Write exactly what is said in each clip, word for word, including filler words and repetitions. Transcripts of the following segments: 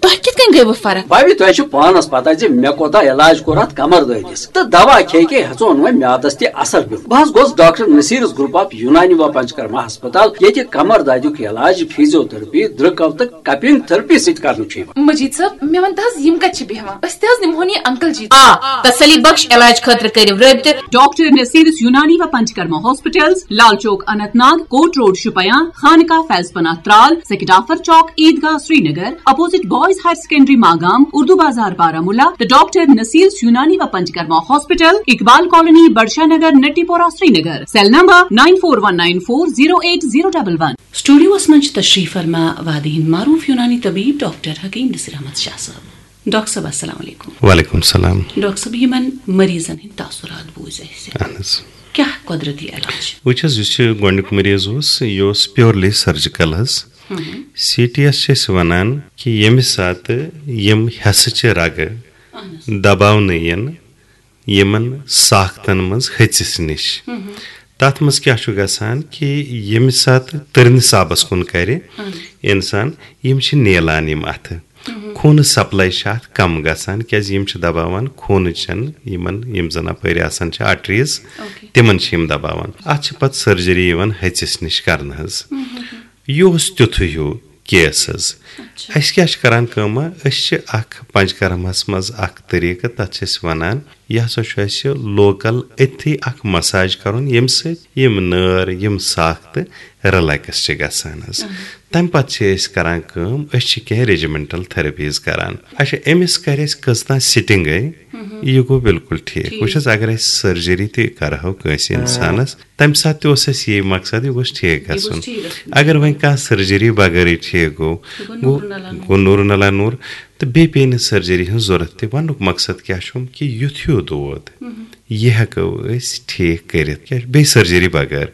تۄہہِ کِتھ کٔنۍ گٔیوٕ فرق؟ بھابھی، تۄہہِ چھُ پانس پتہ زِ مےٚ کوتاہ علاج کوٚر اتھ کمر دٲدِس، تہٕ دوا کھے کھے ہیژون وۄنۍ میادس تہِ اثر پیوٚو۔ بہٕ حظ گوس ڈاکٹر نصیرس گروپ آف یونانی و پنچکرما ہسپتال، ییٚتہِ کمر دادیُک علاج فیزیو تھراپی، درٛکو تہٕ کپنگ تھراپی سۭتۍ کرنہٕ چھُ یِوان۔ مجید صٲب، مےٚ ون تہٕ حظ، یِم کتہِ چھِ بیہوان؟ أسۍ تہِ حظ نِمہون یہِ انکل جی۔ آ، تسلی بخش علاج خٲطرٕ کٔرِو رٲبطہٕ۔ ڈاکٹر نصیرس یونانی و Panchakarma hospitals, Lal Chowk Anantnag, Kot road Shopian, Khanqah Faiz Panah Tral, Sekidafar Chowk, Eidgah Srinagar, opposite boys higher secondary Magam, Urdu Bazar Baramulla, تہٕ ڈاکٹر نصیرس یونانی و Panchakarma hospital, Iqbal colony, Budshah Nagar, Natipora, Srinagar. Cell number nine four one nine four zero eight zero double one۔ سٹوڈیوس منٛز چھِ تشریف فرما وادی ہٕنٛدۍ معروف یونانی طبیب ڈاکٹر حکیم نصیر احمد شاہ صٲب۔ ڈاکٹر صٲب، السلام علیکم۔ وعلیکم السلام۔ ڈاکٹر صٲب، یِمن مریضن ہٕنٛدۍ تاثرات بوٗزۍ اَسہِ۔ اہن حظ۔ کیٛاہ قۄدرتی علاج؟ وٕچھ حظ، یُس یہِ گۄڈٕنیُک مریض اوس، یہِ اوس پیورلی سرجیکل حظ۔ سی ٹی ایس چھِ أسۍ وَنان کہِ ییٚمہِ ساتہٕ یِم حصہٕ چھِ رگہٕ اہن حظ۔ دباونہٕ یِن، یِمن ساختن منٛز ۂژِس نِش۔ تتھ منٛز کیٛاہ چھُ گژھان کہِ ییٚمہِ ساتہٕ تٔرنہِ صابس کُن کرِ انسان، یِم چھِ نیلان یِم اتھٕ۔ خوٗنہٕ سپلاے چھِ اتھ کم گژھان، کیازِ یِم چھِ دباوان خوٗنہٕ چٮ۪ن یِمن، یِم زن اپٲرۍ آسان چھِ آرٹریز، اوکے۔ تِمن چھِ یِم دباوان۔ اتھ چھِ پتہٕ سرجری یِوان ۂژِس نِش کرنہٕ حظ۔ یہِ اوس تیُتھُے ہیوٗ کیس حظ۔ اچھا۔ أسۍ کیٛاہ چھِ کران کٲمہ؟ أسۍ چھِ اکھ پنچکرمس منٛز اکھ طریٖقہٕ، تتھ چھِ أسۍ ونان، یہِ ہسا چھُ اَسہِ لوکل أتھی اکھ مساج کرُن، ییٚمہِ سۭتۍ یِم نٲر، یِم ساختہٕ رِلیکس چھِ گژھان حظ۔ تمہِ پتہٕ چھِ أسۍ کران کٲم، أسۍ چھِ کینٛہہ ریجیمنٹل تھراپیز کران۔ اچھا، أمِس کرِ اَسہِ کٔژ تام سٹنگے، یہِ گوٚو بالکل ٹھیٖک۔ ٹھیٖک۔ وٕچھ حظ، اگر أسۍ سرجری تہِ کرہو کٲنٛسہِ انسانس، تمہِ ساتہٕ تہِ اوس اَسہِ یی مقصد، یہِ گوٚژھ ٹھیٖک یہِ گوٚژھ گژھُن۔ ٹھیٖک گژھُن۔ اگر وۄنۍ کانٛہہ سرجری بغٲرٕے ٹھیٖک گوٚو، یہِ گوٚو گوٚو، نوٗرُن علا نوٗر۔ گوٚو نوٗرُن علا نوٗر، تہٕ بیٚیہِ پیٚیہِ نہٕ سرجری ہٕنٛز ضروٗرت تہِ۔ وننُک مقصد کیٛاہ چھُم کہِ یُتھ ہیوٗ دود، یہِ ہٮ۪کو أسۍ ٹھیٖک کٔرِتھ، کیٛاہ بیٚیہِ سرجری بغٲر۔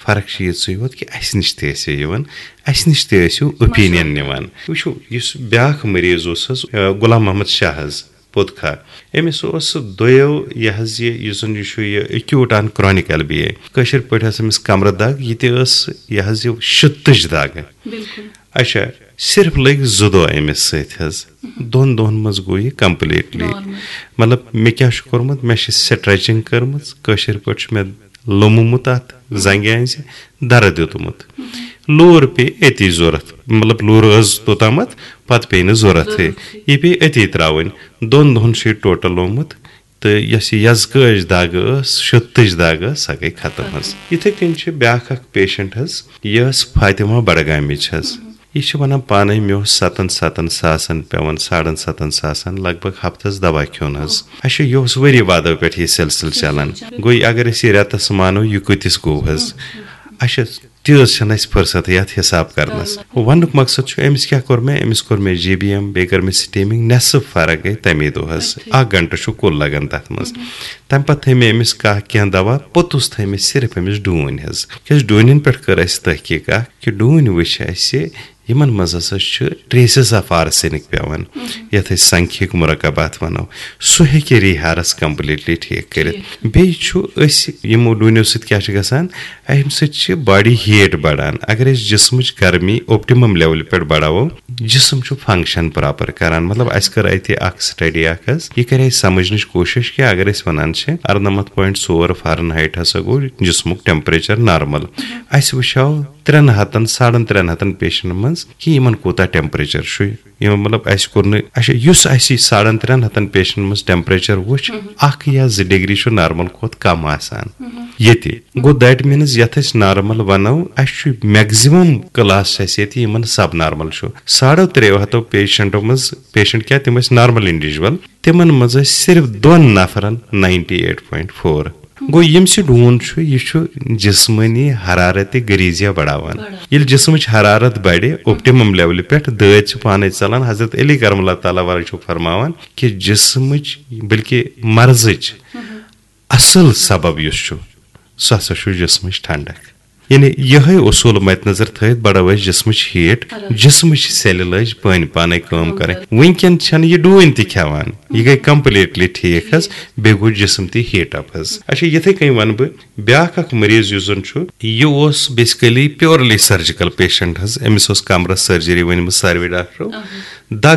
فرق چھِ یِژٕے یوت کہِ اَسہِ نِش تہِ ٲسِو یِوان، اَسہِ نِش تہِ ٲسِو اوپینین نِوان۔ وٕچھِو، یُس بیٛاکھ مریض اوس حظ، آ، غلام محمد شاہ حظ، پوٚت کھا۔ أمِس اوس سُہ دۄیو یہِ حظ یہِ، یُس زَن یہِ چھُ یہِ acute on chronic L B A۔ کٲشِر پٲٹھۍ ٲس أمِس کمرٕ دگ، یہِ تہِ ٲس یہِ حظ یہِ شِتٕچ دگ۔ بِلکُل۔ اچھا، صرف لٔگۍ زٕ دۄہ أمِس سۭتۍ حظ۔ دۄن دۄہَن منٛز گوٚو یہِ completely۔ Normal۔ مطلب، مےٚ کیٛاہ چھُ کوٚرمُت؟ مےٚ چھِ stretching کٔرمٕژ، کٲشِر پٲٹھۍ چھُ مےٚ لوٚممُت اَتھ زنٛگہِ أنٛزِ، دَرٕ دیُتمُت۔ لوٗر پیٚیہِ أتی ضوٚرَتھ، مطلب، لوٗر ٲس توٚتامَتھ، پَتہٕ پیٚیہِ نہٕ ضوٚرَتھٕے۔ ضوٚرَتھٕے۔ یہِ پیٚیہِ أتی ترٛاوٕنۍ۔ دۄن دۄہَن چھُ یہِ total لوٚمُت۔ تہٕ یۄس یہِ یزکٲج دگ ٲس، شِتٕچ دگ ٲس، سۄ گٔے ختم حظ۔ یِتھَے کٔنۍ چھِ بیٛاکھ اَکھ patient حظ، یہِ ٲس فاطمہ بڈگامِچ حظ۔ یہِ چھِ وَنان پانَے، مےٚ اوس سَتَن سَتَن ساسَن پٮ۪وان، ساڑَن سَتَن ساسَن، لگ بگ ہفتَس دوا کھیوٚن حظ۔ اچھا، یہِ اوس ؤری وادو پٮ۪ٹھ یہِ سلسلہٕ چلان۔ گوٚو، اگر أسۍ یہِ رٮ۪تَس مانو، یہِ کۭتِس گوٚو حظ؟ اچھا، تہِ حظ چھَنہٕ اَسہِ فرصتٕے اَتھ حساب کرنَس۔ وَننُک مقصد چھُ، أمِس کیٛاہ کوٚر مےٚ؟ أمِس کوٚر مےٚ جی بی ایم، بیٚیہِ کٔر مےٚ steaming، نٮ۪صٕف فرق گٔے تَمی دۄہ حظ۔ اَکھ گھنٹہٕ چھُ کُل لگان تَتھ منٛز۔ تَمہِ پَتہٕ تھٲے مےٚ أمِس کانٛہہ کینٛہہ دوا، پوٚتُس تھٲے مےٚ صرف أمِس ڈوٗنۍ حظ۔ کیٛازِ ڈوٗنٮ۪ن پٮ۪ٹھ کٔر اَسہِ تحقیٖق اَکھ کہِ ڈوٗنۍ وٕچھ اَسہِ، یِمن منٛز ہسا چھُ traces of arsenic پٮ۪وان، یَتھ أسۍ سنکھیِک مرکبات وَنو، سُہ ہیٚکہِ ریہارس completely ٹھیٖک کٔرِتھ۔ بیٚیہِ چھُ أسۍ یِمو ڈوٗنیو سۭتۍ کیٛاہ چھُ گژھان، اَمہِ سۭتۍ چھِ body heat بڑان۔ اگر أسۍ جسمٕچ گرمی optimum level پٮ۪ٹھ بڑاوو، جسم چھُ function proper کران۔ مطلب، اَسہِ کٔر اَتہِ اکھ study اکھ حظ، یہِ کَرِ اَسہِ سمجھنٕچ کوٗشش کہِ اگر أسۍ وَنان چھِ اَرنَمَتھ point ژور Fahrenheit ہسا گوٚو جسمُک temperature normal، اَسہِ وٕچھو ترٛٮ۪ن ہتن، ساڑن ترٛٮ۪ن ہتن patientن منٛز کہِ یِمن کوٗتاہ temperature چھُ، یِمن، مطلب، اَسہِ کوٚر نہٕ، اچھا، یُس اَسہِ یہِ ساڑن ترٛٮ۪ن ہتن patientن منٛز temperature وُچھ، اکھ یا زٕ degree چھُ normal کھۄتہٕ کم آسان۔ ییٚتہِ گوٚو، that means یَتھ أسۍ normal وَنو، اَسہِ چھُ maximum class چھُ اَسہِ ییٚتہِ یِمن sub normal چھُ۔ ساڑو ترٛیو ہتو patientو منٛز، patient کیٛاہ، تِم ٲسۍ normal individual، تِمن منٛز ٲسۍ صرف دۄن نفرن ninety eight point four۔ گوٚو، ییٚمہِ سۭتۍ ڈوٗن چھُ، یہِ چھُ جسمٲنی حرارت غریزیہ بڑاوان۔ ییٚلہِ جسمٕچ حرارت بڑِ optimum levelہِ پٮ۪ٹھ، دٲدۍ چھِ پانے ژلان۔ حضرت علی کرم اللہ تعالیٰ وجہہ چھُ فرماوان کہِ جسمٕچ، بلکہِ مرضٕچ اصل سبب یُس چھُ، سُہ ہسا چھُ جسمٕچ ٹھنڈک۔ یعنی، یِہوٚے اصوٗل مد نظر تھٲوِتھ بڑٲو اَسہِ جسمٕچ heat، جسمٕچ سیلہِ لٲج پٲنۍ پانے کٲم کرٕنۍ۔ وٕنکٮ۪ن چھنہٕ یہِ ڈوٗنۍ تہِ کھٮ۪وان، یہِ گٔے completely ٹھیٖک حظ، بیٚیہِ گوٚو جسم تہِ heat up حظ۔ اچھا، یِتھے کٔنۍ ونہٕ بہٕ، بیٛاکھ اکھ مریض یُس زن چھُ، یہِ اوس basically purely surgical patient حظ، أمِس اوس کمرس surgery ؤنمٕژ ساروٕے ڈاکٹرو۔ دگ